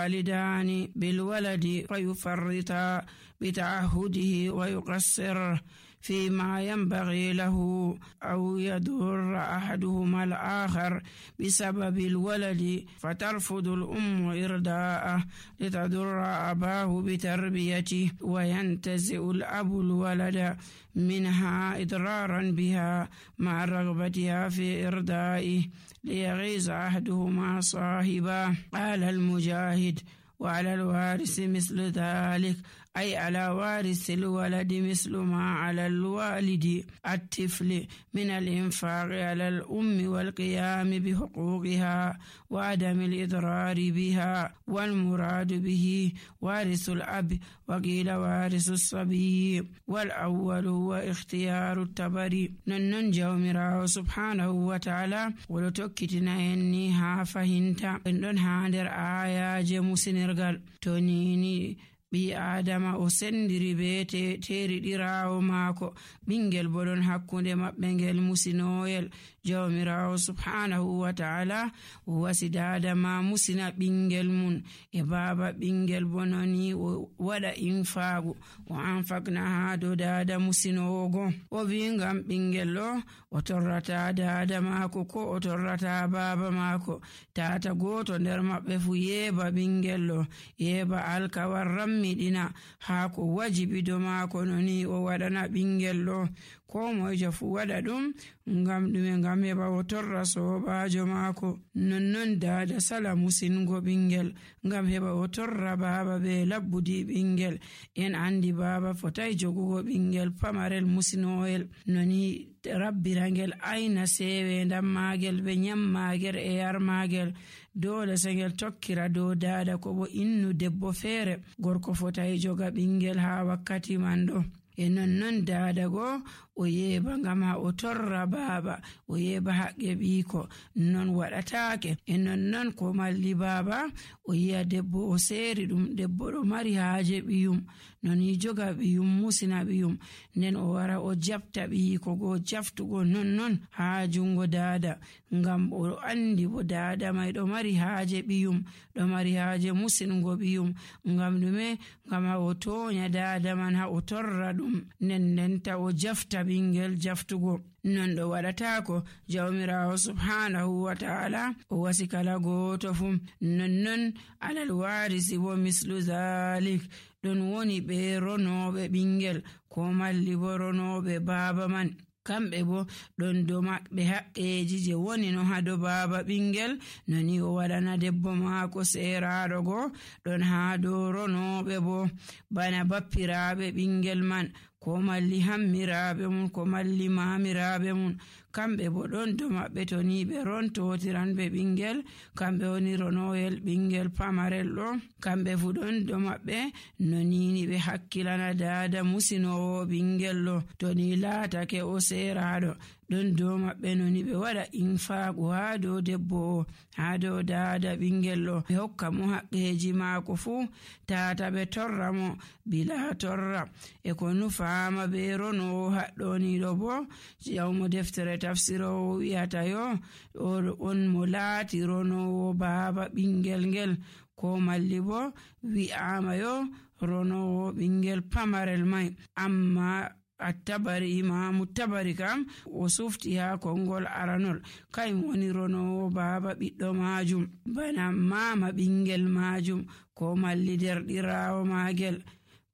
الوالدان بالولد فيفرطا بتعهده ويقصر فيما ينبغي له أو يضر أحدهما الآخر بسبب الولد فترفض الأم إرضاءه لتضر أباه بتربيته وينتزع الأب الولد منها إضرارا بها مع رغبتها في إرضائه ليغيظ أحدهما صاحبه. قال المجاهد: وعلى الوارث مثل ذلك، أي على وارث الولد مثل ما على الوالد الطفل من الإنفاق على الأم والقيام بحقوقها وعدم الإضرار بها، والمراد به وارث الأب، وقيل وارث الصبي، والأول هو اختيار التبري. ننن جومراو سبحانه وتعالى ولتوكتنا إني ها فهمتا إنن هاندر آيا جمسنرغال تونيني ɓi adama o sendiri be teriɗirawo maako ɓingel boɗon hakkunde maɓɓe ngel musinoyel. jawmirawo subhanahu wa ta'ala wasi dadama musina ɓingel mun e baba ɓingel bononi o waɗa infagu o anfakna ha do dada musinogo. o wi ngam ɓingel ɗo o torrata dada maako ko o torrata baba maako. tata goto nder maɓɓe fu yeba ɓingel ɗo, yeba alkawar miɗina haa ko wajibi do maako noni o waɗana ɓingel ɗo. ko moyjo fu waɗa ɗum ngam ɗume? ngam heɓa o torra sobajo maako. nonnon dada sala musingo ɓingel ngam heɓa o torra baba be labbudi ɓingel. en andi baba fotai jogugo ɓingel pamarel musinoyel noni rabbirangel aina sewe ndam magel be nyammagel e yarmagel. dole sengel tokkira dow dada ko bo innu debbo feere. gorko fotai joga ɓingel ha wakkati man ɗo. e nonnon dada go o yeba ngam ha o torra baba, o yeba haqqe ɓiiko. non waɗatake. e nonnon ko malli baba o yi'a debbo o seeri ɗum, debbo ɗo mari haaje ɓiyum, non yi joga ɓiyum musina ɓiyum, nden o wara o jabta ɓiiko go jaftugo nonnon ha jungo dada, ngam o andi bo dada mai ɗo mari haaje ɓiyum, ɗo mari haaje musingo ɓiyum. ngam ɗume? ngam ha o tonya dada man ha o torra ɗum, nden ta o jafta ɓingel jaftugo. non ɗo waɗatako. jawmirawo subhanahu wa ta'ala o wasi kala goto fu. nonnon alal warisi bo mislu zalik, ɗon woni ɓe ronoɓe ɓingel ko malli bo ronoɓe baba man. kamɓe bo ɗon do maɓɓe haqqeji je woni no ha do baba ɓingel noni o waɗana debbo maako seraɗo go. ɗon ha do ronoɓe bo bana bappiraɓe ɓingel man, ko malli hammiraɓe mun, ko malli mamiraɓe mun. kamɓe bo ɗon do maɓɓe to ni ɓe rontotiran ɓe ɓingel, kamɓe woni ronoyel ɓingel pamarel ɗo. kamɓe fu ɗon do maɓɓe no nini ɓe hakkilana dada musinowo ɓingel ɗo to ni laatake o seraɗo. ɗon do maɓɓe noni ɓe waɗa infagu ha dow debbo o, ha dow dada ɓingel ɗo, ɓe hokka mo haqqeji maako fu tata ɓe torra mo bila torra. e ko nufama ɓe ronowo haɗɗoniɗo bo jawmo deftere tafsirowo wi'ata yo on mo laati ronowo baba ɓingel ngel, ko malli bo wi'ama yo ronowo ɓingel pamarel mai. amma attabari imamu tabari kam o sufti ha kongol aranol kayum woni ronowo baba ɓiɗɗo majum, bana mama ɓingel majum ko malli derɗirawo magel.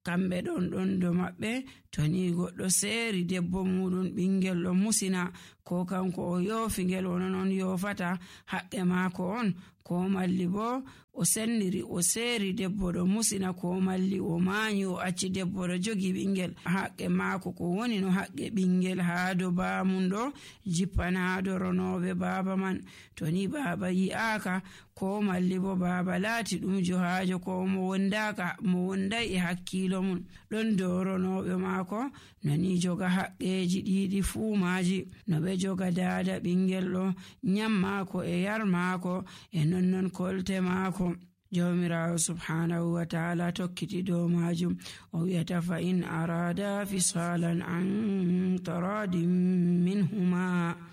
kamɓe ɗon do maɓɓe to ni goɗɗo seeri debbo muɗum ɓingel ɗo musina, ko kanko o yoofi ngel onon on yoofata haqqe maako on, ko malli bo o senniri o seeri debbo ɗo musina, ko malli o maanyi o acci debbo ɗo jogi ɓingel. haqqe maako ko woni no haqqe ɓingel haa do baamum ɗo jippan haa do ronoɓe baaba man. to ni baaba yi'aaka ko malli bo baaba laati ɗum johaajo ko mo wonday e hakkiilo mum, ɗon do ronoɓe maako nani joga haqqeji ɗiɗi fuu maaji, no ɓe joga dada ɓingel ɗo, nyam maako e yar maako e nonnon kolte maako. jawmirawo subhanahu wa ta'ala tokkiti dow majum o wi'ata fa in arada fisalan an taradin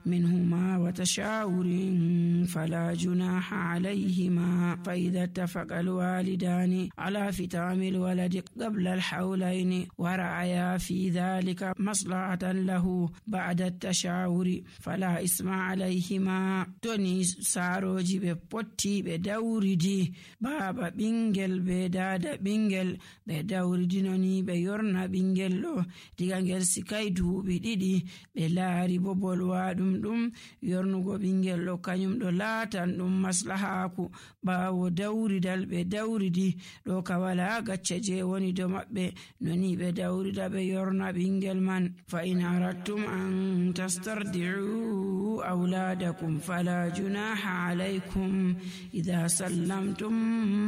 minhuma wa tashawurin fala junaha alayhima fa idha ittafaqa alwalidani ala fitami alwaladi qabla alhawlayn wa ra'aya fi dhalika maslahatan lahu ba'da at-tashawuri fala isma alayhima. Toni saroji be potti be dawridi baba bingel be dada bingel be dawridinoni be yorna bingel do diga ngel sikai duubi didi be laari bo bolwadum dum yornugo bingel do kanyum do laatan dum maslahaku bawo dawridal be dawridi do ka wala gacce je woni do mabbe noni be dawrida be yorna bingel man. Fa in aradtum an tastardi'u awladakum fala junaha alaykum idha sallamtum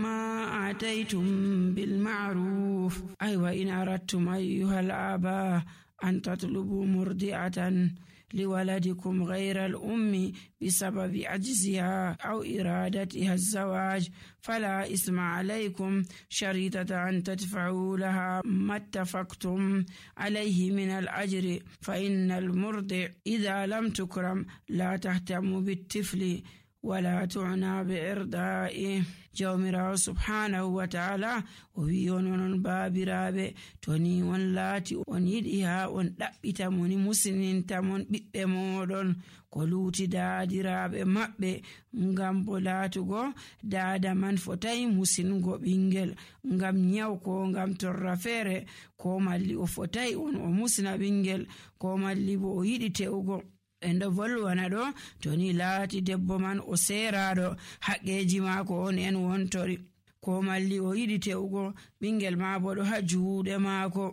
ma ataytum bil ma'ruf. Ay wa in aradtum ayyuhal aba an tatlubu murdi'atan لولدكم غير الأم بسبب عجزها أو إرادتها الزواج فلا إثم عليكم شريطة أن تدفعوا لها ما اتفقتم عليه من الأجر فإن المرضع إذا لم تكرم لا تهتم بالطفل ولا تعنى بإرضائه. jawmirawo subhanahu wa ta'ala o wi onon baabiraɓe toni on laati on yiɗi ha on ɗaɓɓita moni musininta mon ɓiɓɓe moɗon ko luuti daadiraɓe maɓɓe ngam bo laatugo daada man fotai musingo ɓingel ngam nyaw ko ngam torra feere ko malli o fotai on o musina ɓingel ko malli bo o yiɗi te'ugo en do volwana do toni laati debbo man o seeraɗo haqqeji maako on en wontori ko malli o yiɗi te'ugo ɓingel ma bo ɗo ha juuɗe maako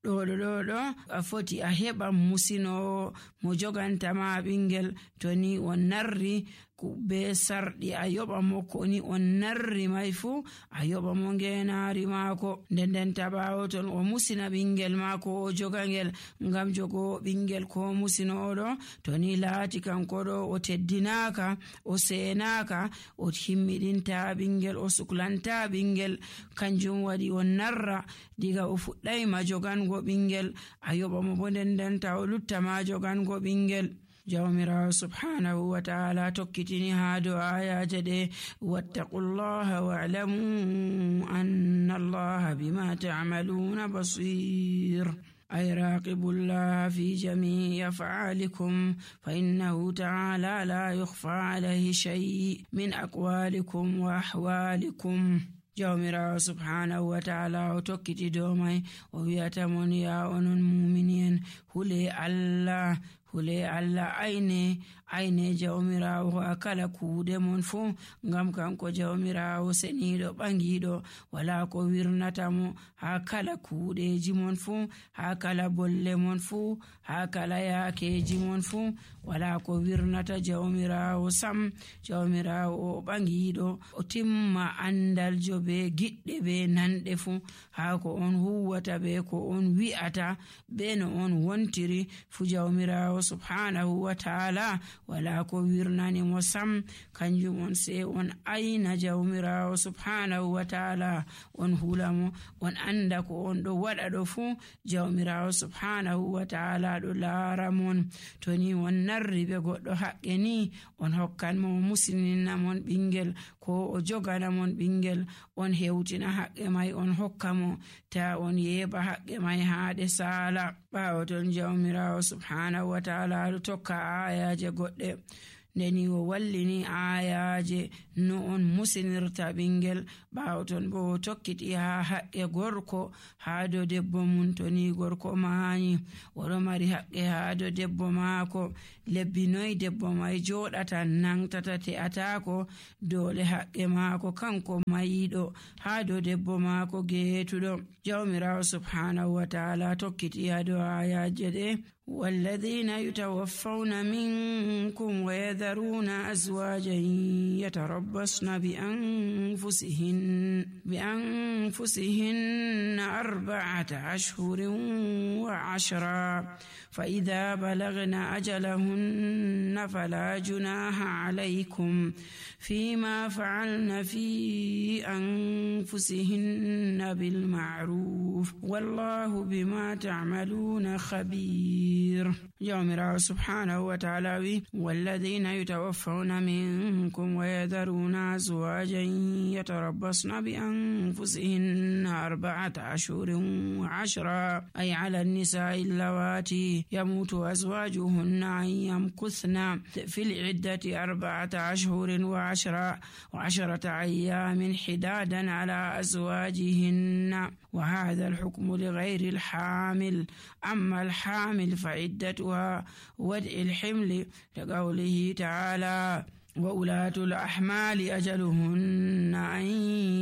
ɗo a foti a heɓa musinowo mo jogantama ɓingel toni on narri be sarɗi a yoɓa mo koni on narri mai fu a yoɓa mo ngenari maako nden tabawo ton o musina ɓingel maako o joga ngel ngam jogo ɓingel ko musinoɗo toni laati kanko ɗo o teddinaka o seenaka o himmiɗinta ɓingel o suklanta ɓingel kanjum waɗi on narra diga o fuɗɗayma jogango ɓingel a yoɓa mo bo nden ta o luttama jogango ɓingel. jawmirawo subhanahu wa ta'ala tokkitini ha do ayaje ɗe wattaqullaha wa'lamu anna allaha bima ta'maluna basir. أي راقبوا الله في جميع أفعالكم فإنه تعالى لا يخفى عليه شيء من أقوالكم وأحوالكم. jawmirawo subhanahu wa ta'ala o tokkiti dow mai o wiyata mon ya onon mu'minin hule Allah ayne jawmirawo ha kala kuude mon fu ngam kanko jawmirawo seniɗo ɓangiɗo wala ko wirnata mo ha kala kuuɗeji mon fu ha kala bolle mon fu ha kala yaakeji mon fu wala ko wirnata jawmirawo sam. jawmirawo o ɓangiɗo o timma andaljo be giɗɗe be nanɗe fu ha ko on huwata be ko on wi'ata be no on wontiri fu jawmirawo subhanahu wa ta'ala wala ko wirnani mo sam. kanjum on se on ayna jawmirawo subhanahu wa ta'ala on hulamo on anda ko on ɗo waɗa ɗo fu jawmirawo subhanahu wa ta'ala ɗo laara mon toni on narri be goɗɗo haqqe ni on hokkan mo musinina mon ɓingel ko o jogana mon ɓingel on hewtina haqqe mai on hokka mo ta on yeɓa haqqe mai haɗe sala. ɓawo ton jawmirawo subhanahu wa ta'ala ɗo tokka ayaje goɗɗe ndeni o wallini ayaje no on musinirta ɓingel. ɓawo ton bo o tokkiti ha haqqe gorko ha do debbo mum toni gorko maani oɗo mari haqqe ha do debbo maako lebbi noy debbo mai joɗata nangtata te'atako dole haqqe maako kanko mayiɗo ha do debbo maako geetuɗo. jawmirawo subhanahu wa ta'ala tokkiti ha do ayaje ɗe والذين يتوفون منكم ويذرون أزواجا يتربصن بأنفسهن 4 أشهر و10 فإذا بلغن أجلهن فلا جناح عليكم فيما فعلن في أنفسهن بالمعروف والله بما تعملون خبير. جامرا سبحانه وتعالى والذين يتوفون منكم ويذرون أزواجا يتربصن بأنفسهن 4 أشهر و10 أي على النساء اللواتي يموت أزواجهن أن يمكثن في العدة 4 أشهر و10 أيام حدادا على أزواجهن وهذا الحكم لغير الحامل. أما الحامل فعدتها وضع الحمل لقوله تعالى وأولاة الأحمال أجلهن أن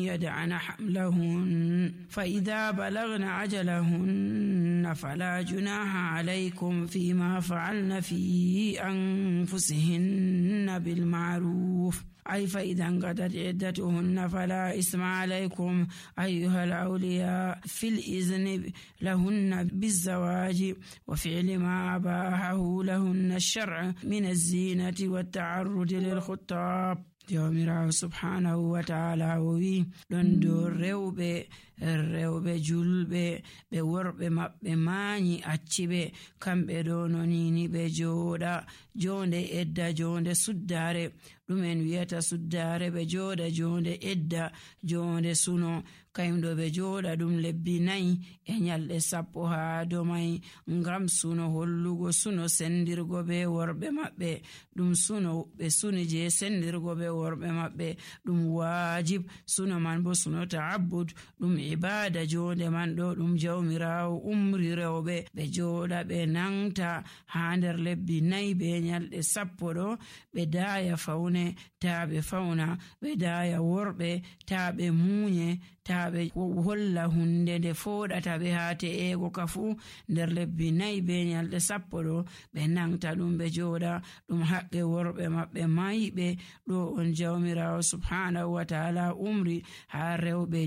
يدعن حملهن فإذا بلغن أجلهن فلا جناح عليكم فيما فعلن في أنفسهن بالمعروف أي فإذا انقضت عدتهن فلا إثم عليكم أيها الأولياء في الإذن لهن بالزواج وفعل ما أباحه لهن الشرع من الزينة والتعرض للخطاب. Jawmirawo subhanahu wa ta'ala o wi ɗon dow rewɓe julɓe ɓe worɓe maɓɓe maanyi acciɓe kamɓe ɗo nonini ɓe jooɗa jonde edda jonde suddare ɗumen wiyata suddare ɓe jooɗa jonde edda jonde suno kayumɗo ɓe jooɗa ɗum lebbi 4 e nyalɗe 10 haa domai ngam suno hollugo suno sendirgo be worɓe maɓɓe ɗum suno ɓe suni je sendirgo be worɓe maɓɓe ɗum wajib suno man bo suno ta'abbud ɗum ibada jonde man ɗo ɗum jawmirawo umri rewɓe ɓe jooɗa ɓe nangta haa nder lebbi 4 be nyalɗe 10 ɗo ɓe daaya faune ta ɓe fauna ɓe daaya worɓe ta ɓe muunye ta ɓe holla hunde nde foɗata ɓe haa te'ego ka fu nder lebbi 4 be nyalɗe 10 ɗo ɓe nangta ɗum ɓe jooɗa ɗum haqqe worɓe maɓɓe mayɓe ɗo on jawmirawo subhanahu wa ta'ala umri haa rewɓe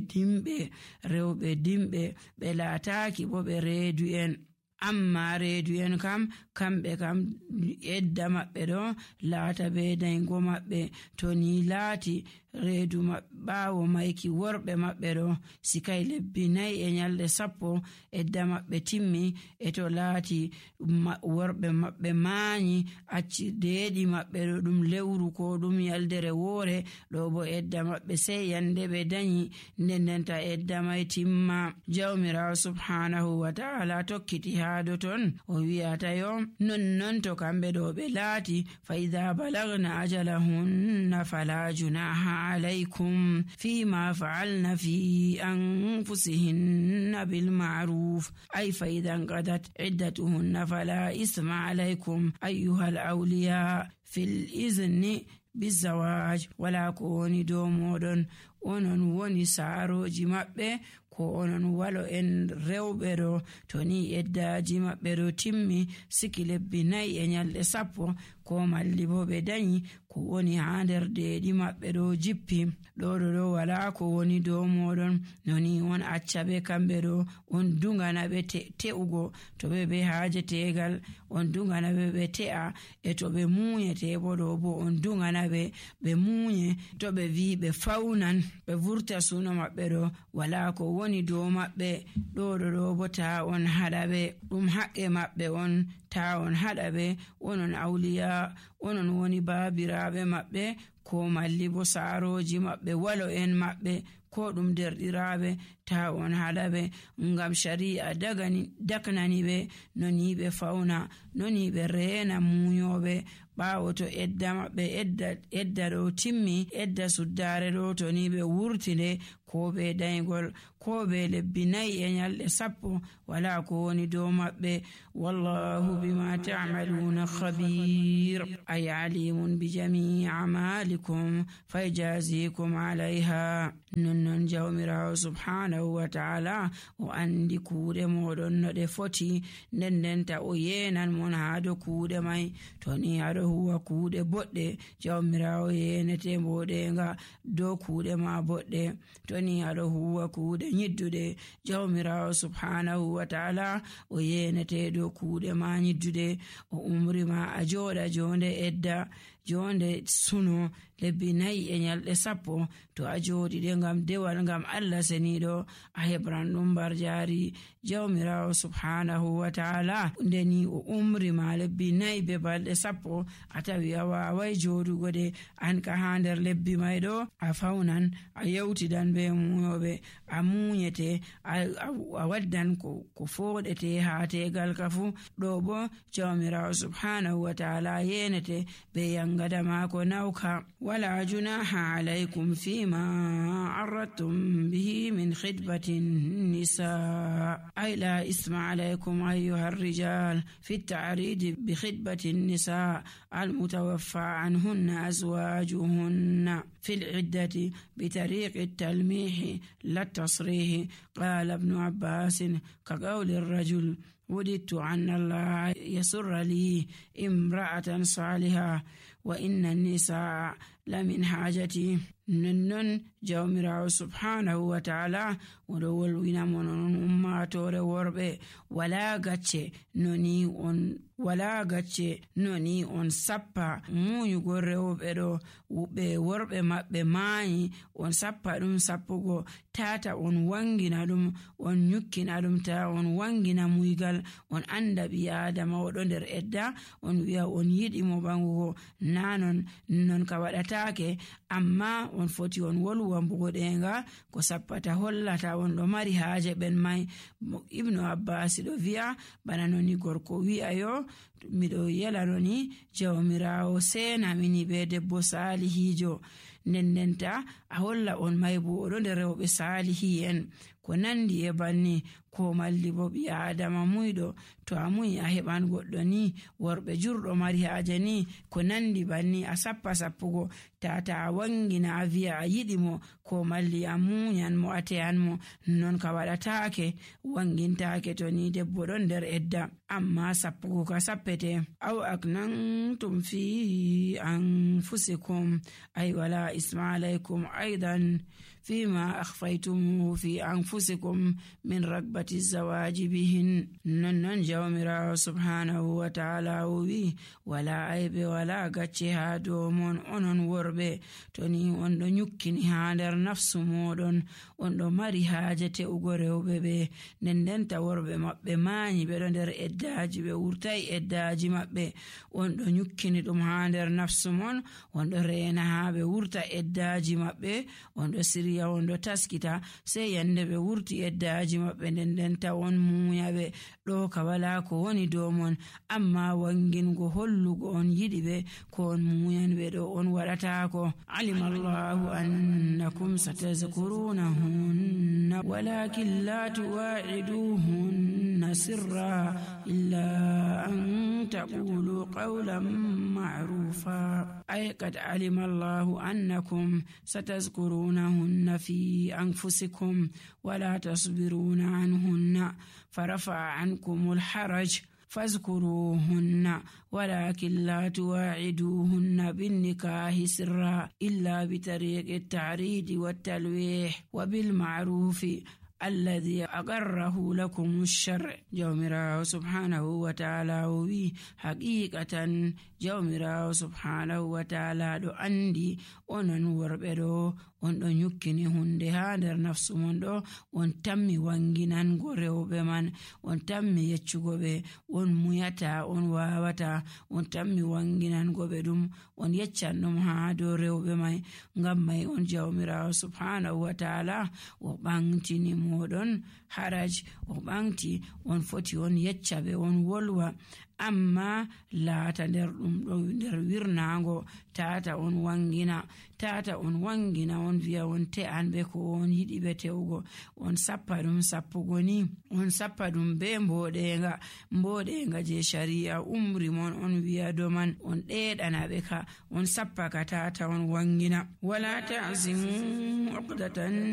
dimɓe ɓe laataaki bo ɓe reedu en. Amma reedu en kamɓe kam edda maɓɓe ɗo laata be dayngo maɓɓe to ni laati reedu ɓaawo mayki worɓe maɓɓe ɗo sikay lebbi 4 e nyalɗe 10 edda maɓɓe timmi e to laati worɓe maɓɓe maanyi acci deeɗi maɓɓe ɗo ɗum lewru ko ɗum yaldere woore ɗo bo edda maɓɓe sey yande ɓe dañi ndendenta edda may timma. Jawmirawo subhanahu wa ta'ala tokkiti haado ton o wi'ata yo non to kamɓe ɗo ɓe laati fa idha balagna ajalahunna fala junaha عليكم فيما فعلن في أنفسهن بالمعروف أي فإذا انقضت عدتهن فلا إثم عليكم أيها الأولياء في الإذن بالزواج ولا كوني دومودون onon woni saaroji maɓɓe ko onon walo en rewɓe ɗo to ni eddaji maɓɓe ɗo timmi siki lebbi 4 e nyalɗe 10 ko malli bo ɓe dañi ko woni haa nder deeɗi maɓɓe ɗo jippi ɗo wala ko woni dow moɗon noni on acca ɓe kamɓe ɗo on dungana ɓe te'ugo to ɓe haaje tegal on dungana ɓe te'a e to ɓe muuyete bo ɗo bo on dungana ɓe muuye to ɓe wi ɓe faunan ɓe vurta suno maɓɓe ɗo wala ko woni dow maɓɓe ɗo bo ta on haɗa ɓe ɗum haqqe maɓɓe on ta on haɗa ɓe onon awliya onon woni baabiraɓe maɓɓe ko malli bo saaroji maɓɓe walo en maɓɓe ko ɗum derɗiraɓe ta on haɗa ɓe ngam shari'a daknani ɓe noni ɓe fauna noni ɓe reena muuyoɓe ɓaawo to edda maɓɓe edda ɗo timmi, edda suddare ɗo to ni ɓe wurtinde ko be daygol ko be lebbi 4 e nyalɗe 10 wala ko woni dow maɓɓe. wallahu bima ta'maluna khabir ay alimun bi jami'i a'malikum fayjazikum alayha. nonnon jawmirawo subhanahu wa ta'ala o andi kuuɗe moɗon no ɗe foti, ndendenta o yenan mon ha do kuuɗe mai. to ni aɗo huwa kuuɗe boɗɗe, jawmirawo yenete mboɗenga dow kuuɗe ma boɗɗe. to ni aɗo huwa kuuɗe nyidduɗe, jawmirawo subhanahu wa ta'ala o yenete dow kuuɗe ma nyidduɗe. o umri ma a joɗa jonde edda, jonde suno lebbi 4 e nyalɗe 10 to a joɗiɗe ngam dewal ngam Allah seniɗo a hebran ɗum bar jari jawmirawo subhanahu wa ta'ala. ndeni o umri ma lebbi 4 be balɗe 10 a tawi a wawai joɗugo de, an ka ha nder lebbi mai ɗo a faunan, a yewtidan be muyoɓe, a munyete, a waddan ko foɗete ha tegal ka fu. ɗo bo jawmirawo subhanahu wa ta'ala yenete be yangada mako nauka. wala junaha alaykum fima aradtum bihi min khidbatin nisa ay la isma alaykum ayyuha ar-rijal fi at-ta'rid bi khidbatin nisa al-mutawaffa anhunna azwajuhunna في العدة بطريق التلميح لا التصريح. قال ابن عباس كقول الرجل وددت أن الله يسر لي امرأة صالحة وإن النساء لمن حاجتي. ننن جawmirawo subhanahu wa ta'ala oɗo wolwina monon ummatore worɓe wala gacce noni on sappa munyugo rewɓe ɗo ɓe worɓe maɓɓe maayi, on sappa ɗum sappugo tata on wangina ɗum, on nyukkina ɗum ta on wangina muygal. on anda ɓi adama oɗo nder edda, on wi'a on yiɗi mo ɓangugo, non ka waɗatake, amma on foti on wolwa mboɗenga ko sappata hollata on ɗo mari haaje ɓen mai. ibnu abbas ɗo wi'a bana noni gorko wi'a yo miɗo yelanoni jawmirawo sena mini be debbo salihijo, ndendenta a holla on mai bo oɗo nder rewɓe salihi en ko nandi e banni. ko malli bo ɓi adama muyɗo to a muyi a heɓan goɗɗo ni worɓe jurɗo mari haaje ni ko nandi banni a sappugo tata a wangina a wi'a a yiɗi mo, ko malli a munyan mo a teyan mo, non ka waɗatake wangintake to ni debbo ɗon nder edda. amma sappugo ka sappete. aw aknantum fi anfusikum ay wala isma alaykum aidan fima akhfaytum fi anfusikum min ragbati zawaji bihin. non jawmirawo subhanahu wa ta'ala wi wala aibe wala gacce ha dow mon onon worɓe to ni on ɗo nyukkini ha nder nafsu moɗon, on ɗo mari haaje te'ugo rewɓe ɓe, ndendenta worɓe maɓɓe mayi ɓe ɗo nder eddaji, ɓe wurtai eddaji maɓɓe, on ɗo nyukkini ɗum ha nder nafsu mon, on ɗo reena ha ɓe wurta eddaji maɓɓe, on ɗo sirya, on ɗo taskita, sai yande ɓe wurti eddaji maɓɓe ndendenta on muyaɓe. ɗo ka wala ko woni dow mon, amma wangingo hollugo on yiɗi ɓe ko on muyan ɓe ɗo on waɗatako. alima allahu annakum satazkurunahunna walakin la tuwa'iduhunna sirra illa an taqulu qawlan ma'rufa. ay qad alima allahu annakum satazkurunahunna fi anfusikum wala tasbiruna anhunna فرفع عنكم الحرج فاذكروهن ولكن لا تواعدوهن بالنكاح سرا إلا بطريق التعريض والتلويح وبالمعروف الذي أقره لكم الشرع. جومراو سبحانه وتعالى وي حقيقة جومراو سبحانه وتعالى دو أندي onon worɓe ɗo on ɗo nyukkini hunde ha nder nafsu mon ɗo, on tammi wanginango rewɓe man, on tammi yeccugo ɓe on muyata, on wawata, on tammi wanginango ɓe ɗum, on yeccan ɗum ha dow rewɓe mai. ngam mai on jawmirawo subhanahu wa ta'ala o ɓamtini moɗon haraj, o ɓamti on foti on yecca ɓe, on wolwa. amma laata nder ɗum ɗo nder wirnaango tata on wangina on wi'a on te'an be ko on yiɗi be tewugo, on sappa ɗum sappugo ni, on sappa ɗum be mboɗenga je shari'a umri mon on wi'a doman on ɗeɗana ɓe ka, on sappa ka tata on wangina. Wala ta'zimu uqdatan